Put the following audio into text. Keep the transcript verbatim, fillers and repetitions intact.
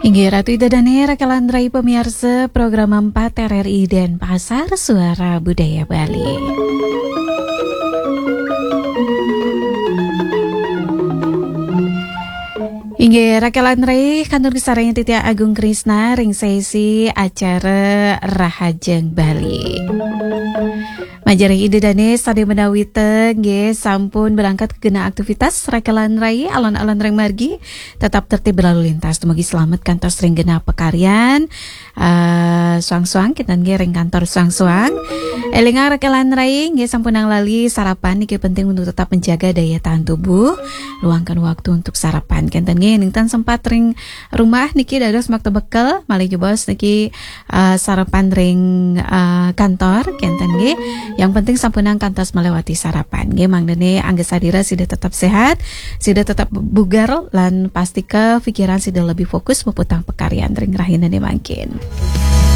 Inggih, Ratu Ida Dane, rakelan rai pamiarsa program empat R R I Denpasar, Suara Budaya Bali. Inggih, rakelan rai, kantur kasarengin titiang Agung Krisna ring sesi acara Rahajeng Bali. Majeng ring Ida Dane sane menawi ten nggih sampun berangkat kena aktivitas, rakelan rai, alon-alon ring margi, tetap tertib berlalu lintas, dumugi selamet kantos ring genah pakaryan. Eh, suang-suang kita nggih ring kantor suang-suang. Elingang rakelan rai, nggih sampunang lali sarapan niki penting untuk tetap menjaga daya tahan tubuh. Luangkan waktu untuk sarapan. Kenten nggih, ning ten sempat ring rumah niki dados makta bekel, malih jebos niki eh, sarapan ring eh, kantor, kenten nggih. Yang penting sampunang kantos melewati sarapan nggih. Mangdane angga sadira sida tetap sehat, sida tetap bugar, lan pastika pikiran sida lebih fokus maputang pakaryan ring rahinane mangkin.